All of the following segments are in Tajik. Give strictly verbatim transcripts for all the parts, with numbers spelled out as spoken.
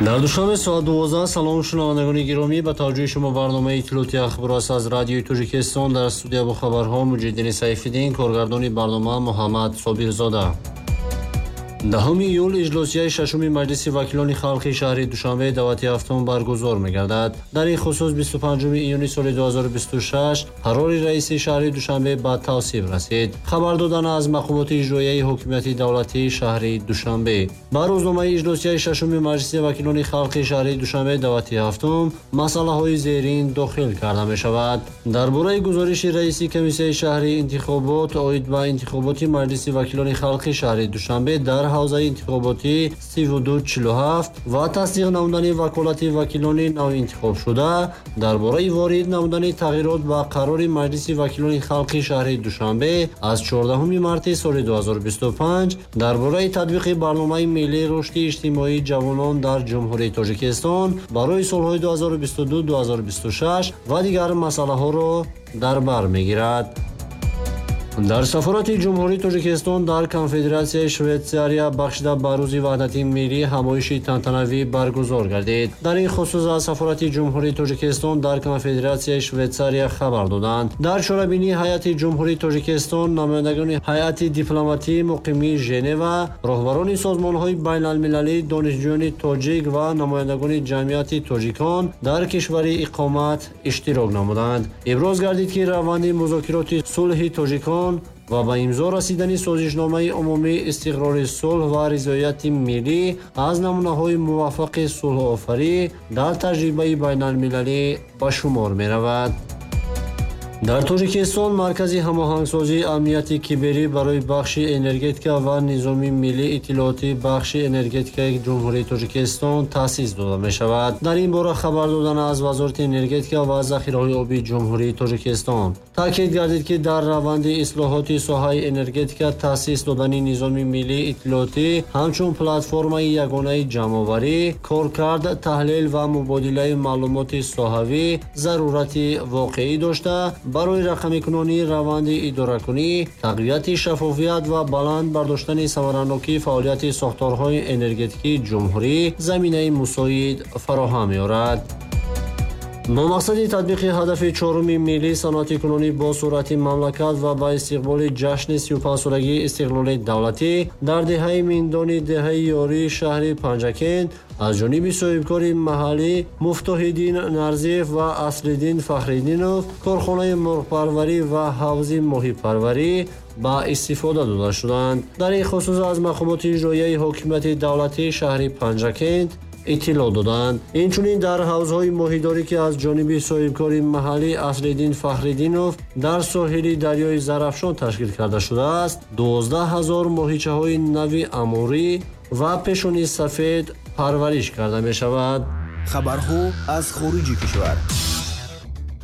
Дар Душанбе соат дувоздаҳ. Салом, шунавандагони гиромӣ, ба таваҷҷӯҳи шумо барномаи иттилооти ахбор аст аз Радиои Тоҷикистон. Дар студия бо хабарҳо Муҷиддини Сайфиддин, коргардони барнома Муҳаммад Собирзода. Даҳуми июл иҷлосияи шашуми Маҷлиси вакилони халқи шаҳри Душанбе даъвати ҳафтум баргузор мегардад. Дар ин хусус бисту панҷуми июни соли ду ҳазору бисту шаш қарори раиси шаҳри Душанбе ба тавсиб расид. Хабар додан аз мақомоти иҷроияи ҳокимияти давлатии шаҳри Душанбе. Ба рӯзномаи иҷлосияи шашуми Маҷлиси вакилони халқи шаҳри Душанбе даъвати ҳафтум масъалаҳои зерин дохил карда мешавад. Дар бораи гузориши раиси комиссияи шаҳри интихобот оид ба интихоботи Маҷлиси вакилони халқи шаҳри Душанбе дар ҳавзаи интихоботӣ сиву ду чилу ҳафт ва тасдиқ намудани ваколати вакилони навинтихобшуда, дар бораи ворид намудани тағйирот ба қарори Маҷлиси вакилони халқи шаҳри Душанбе аз чордаҳуми марти соли ду ҳазору бисту панҷ дар бораи татбиқи барномаи миллии рушди иҷтимоии ҷавонон дар Ҷумҳурии Тоҷикистон барои солҳои ду ҳазору бисту ду ду ҳазору бисту шаш ва дигар масъалаҳоро дар бар мегирад. Дар сафорати Ҷумҳурии Тоҷикистон дар Конфедератсияи Швейтсария бахшида ба рӯзи ваҳдати миллӣ ҳамоиши тантанавӣ баргузор гардид. Дар ин хусус аз сафорати Ҷумҳурии Тоҷикистон дар Конфедератсияи Швейтсария хабар доданд. Дар чорабинии ҳайати Ҷумҳурии Тоҷикистон намояндагони ҳайати дипломатии муқимии Женева, роҳбарони созмонҳои байналмилалӣ, донишҷӯёни тоҷик ва намояндагони ҷамъияти тоҷикон дар кишвари иқомат иштирок намуданд. Иброз гардид, ки раванди музокироти сулҳи тоҷикон ва ба имзо расидани созишномаи умумии истиқрори сулҳ ва ризояти миллӣ аз намунаҳои муваффақи сулҳофарӣ дар таҷрибаи байналмилалӣ ба шумор меравад. Дар Тоҷикистон маркази ҳамоҳангсозии амнияти киберӣ барои бахши энергетика ва низоми миллии иттилоотии бахши энергетикаи Ҷумҳурии Тоҷикистон таъсис дода мешавад. Дар ин бора хабар додан аз Вазорати энергетика ва захираҳои обии Ҷумҳурии Тоҷикистон. Таъкид гардид, ки дар раванди ислоҳоти соҳаи энергетика таъсис додани низоми миллии иттилоотӣ ҳамчун платформаи ягонаи ҷамъоварӣ, коркард, таҳлил ва мубодилаи маълумоти соҳавӣ зарурати воқеӣ дошта, барои рақамикунонии раванди идоракунӣ, тақвияти шаффофият ва баланд бардоштани самаранокии фаъолияти сохторҳои энергетикии ҷумҳурӣ заминаи мусоид фароҳам меорад. Бо мақсади татбиқи ҳадафи чоруми миллии саноатикунонӣ бо суръати мамлакат ва ба истиқболи ҷашни сию панҷсолагии истиқлоли давлатӣ дар деҳаи Миндони деҳаи Ёрии шаҳри Панҷакент аз ҷониби соҳибкори маҳаллӣ Муфтоҳиддин Нарзиев ва Аслиддин Фахриддинов корхонаи мурғпарварӣ ва ҳавзи моҳипарварӣ ба истифода дода шуданд. Дар ин хусус аз мақомоти иҷроияи ҳокимияти давлатии шаҳри Панҷакент иттилоъ доданд. Инчунин дар ҳавзҳои моҳидорӣ, ки аз ҷониби соҳибкори маҳаллӣ Аслиддин Фахриддинов дар соҳили дарёи Зарафшон ташкил карда шудааст, дувоздаҳ ҳазор моҳичаҳои нави амурӣ ва пешони сафед парвариш карда мешавад. Хабарҳо аз хориҷи кишвар.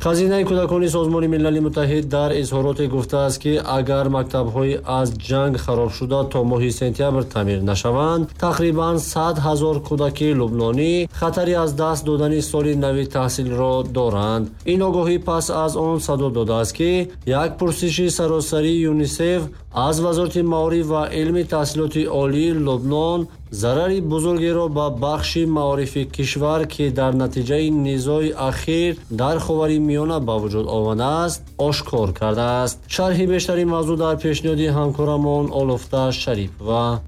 Хазинаи кӯдакони Созмони Милали Муттаҳид дар изҳороте гуфтааст, ки агар мактабҳои аз ҷанг харобшуда то моҳи сентябр таъмир нашаванд, тақрибан сад ҳазор кӯдаки лубнонӣ хатари аз даст додани соли нави таҳсилро доранд. Ин огоҳӣ пас аз он садо додааст, ки як пурсиши саросарии ЮНИСЕФ аз Вазорати маориф ва илми таҳсилоти олии Лубнон зарари бузургеро ба бахши маорифи кишвар, ки дар натиҷаи низои ахир дар Ховари Миёна ба вуҷуд омадааст, ошкор кардааст. Шарҳи бештари мавзӯъ дар пешниҳоди ҳамкорамон Олуфта Шарипова.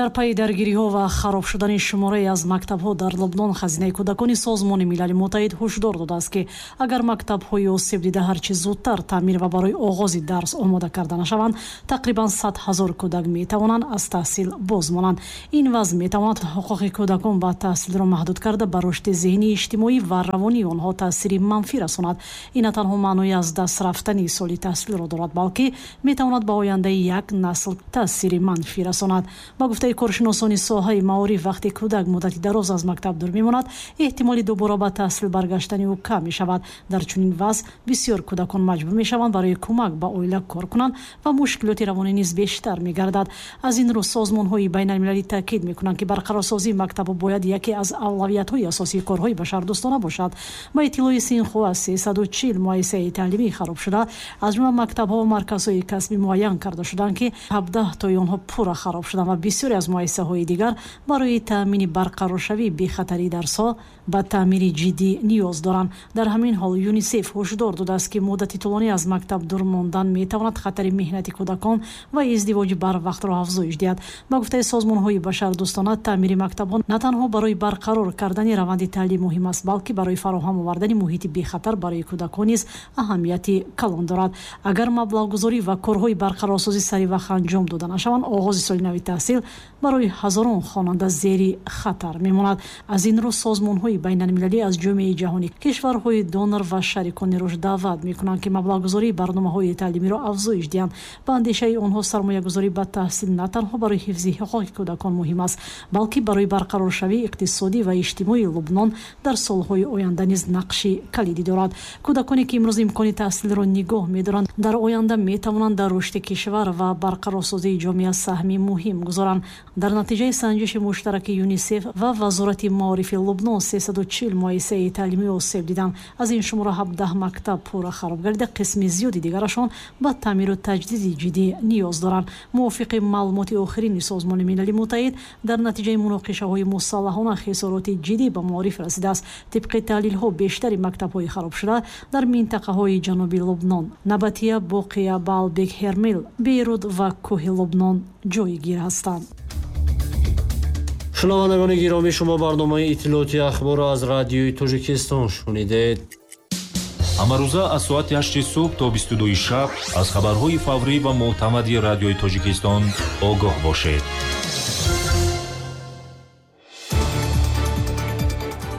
Дар пайи даргириҳо ва хароб шудани шуморае аз мактабҳо дар Лубнон, хазинаи кӯдакони Созмони Милали Муттаҳид ҳушдор додааст, ки агар мактабҳои осебдида ҳарчи зудтар таъмир ва барои оғози дарс омода карда нашаванд, тақрибан сад ҳазор кӯдак метавонанд аз таҳсил боз монанд. Ин вазъ метавонад ҳуқуқи кӯдакон ба таҳсилро маҳдуд карда, ба рушди зеҳнӣ, иҷтимоӣ ва равонии онҳо таъсири манфӣ расонад. Ин на танҳо маънои аз даст рафтани соли таҳсилро дорад, балки метавонад ба ояндаи як насл таъсири манфӣ расонад. Ба Гуфтаи коршиносони соҳаи маориф, вақте кӯдак муддати дароз аз мактаб дур мемонад, эҳтимоли дубора ба таҳсил баргаштани ӯ кам мешавад. Дар чунин вазъ бисёр кӯдакон маҷбур мешаванд барои кӯмак ба оила кор кунанд ва мушкилоти равонӣ низ бештар мегардад. Аз ин рӯ созмонҳои байналмилалӣ таъкид мекунанд, ки барқарорсозии мактабҳо бояд яке аз авлавиятҳои асосии корҳои башардӯстона бошад. Ба иттилои Синхуа, сесаду чил муассисаи таълимӣ хароб шуда, аз ҷумла мактабҳо ва марказҳои касбӣ муайян карда шуданд, ки ҳабдаҳ тои онҳо пурра хароб шуданд ва бисёре аз муассисаҳои дигар барои таъмини барқароршавии бехатарии дарсҳо ба таъмири ҷиддӣ ниёз доранд. Дар ҳамин ҳол ЮНИСЕФ ҳушдор додааст, ки муддати тӯлонӣ аз мактаб дур мондан метавонад хатари меҳнати кӯдакон ва издивоҷи барвақтро афзоиш диҳад. Ба гуфтаи созмонҳои башардӯстона, таъмири мактабҳо на танҳо барои барқарор кардани раванди таълим муҳим аст, балки барои фароҳам овардани муҳити бехатар барои кӯдакон низ аҳамияти калон дорад. Агар маблағгузорӣ ва корҳои барқарорсозӣ саривақт анҷом дода нашаванд, оғози соли нави таҳсил барои ҳазорон хонанда зери хатар мемонад. Аз ин рӯ созмонҳои байналмилалӣ аз ҷомеаи ҷаҳонӣ, кишварҳои донор ва шарикони рушд даъват мекунанд, ки маблағгузории барномаҳои таълимиро афзоиш диҳанд. Ба андешаи онҳо, сармоягузорӣ ба таҳсил на танҳо барои ҳифзи ҳуқуқи кӯдакон муҳим аст, балки барои барқароршавии иқтисодӣ ва иҷтимоии Лубнон дар солҳои оянда низ нақши калидӣ дорад. Кӯдаконе ки имрӯз имкони таҳсилро нигоҳ медоранд, дар оянда метавонанд дар рушди кишвар ва барқарорсозии ҷомеа саҳми муҳим гузоранд. Дар натиҷаи санҷиши муштараки ЮНИСЕФ ва Вазорати маорифи Лубнон сесаду чил муассисаи таълимӣ осеб диданд. Аз ин шумора ҳабдаҳ мактаб пурра хароб гардида, қисми зиёди дигарашон ба таъмиру таҷдиди ҷиддӣ ниёз доранд. Мувофиқи маълумоти охирини Созмони Милали Муттаҳид, дар натиҷаи муноқишаҳои мусаллаҳона хисороти ҷиддӣ ба маориф расидааст. Тибқи таҳлилҳо, бештари мактабҳои харобшуда дар минтақаҳои ҷануби Лубнон, Набатия, Боқия, Баалбек, Ҳермел, Бейрут ва кӯҳи Лубнон ҷойгир ҳастанд. Шунавандагони гиромӣ, шумо барномаи иттилооти ахборро аз радиои Тоҷикистон шунидед. Ҳамарӯза аз соати ҳашти субҳ то бисту дуи шаб аз хабарҳои фаврӣ ва мӯътамади радиои Тоҷикистон огоҳ бошед.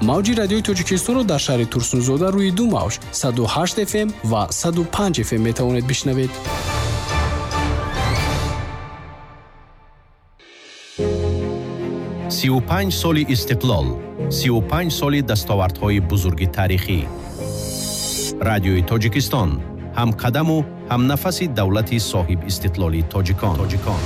Мавҷи радиои Тоҷикистонро дар шаҳри Турсунзода рӯи ду мавҷ саду ҳашт эф эм ва саду панҷ эф эм метавонед бишнавед. сию панҷ соли истиқлол, сию панҷ соли дастовардҳои бузурги таърихӣ. Радиои Тоҷикистон ҳамқадаму ҳамнафаси давлати соҳиб истиқлоли тоҷикон. Тоҷикон.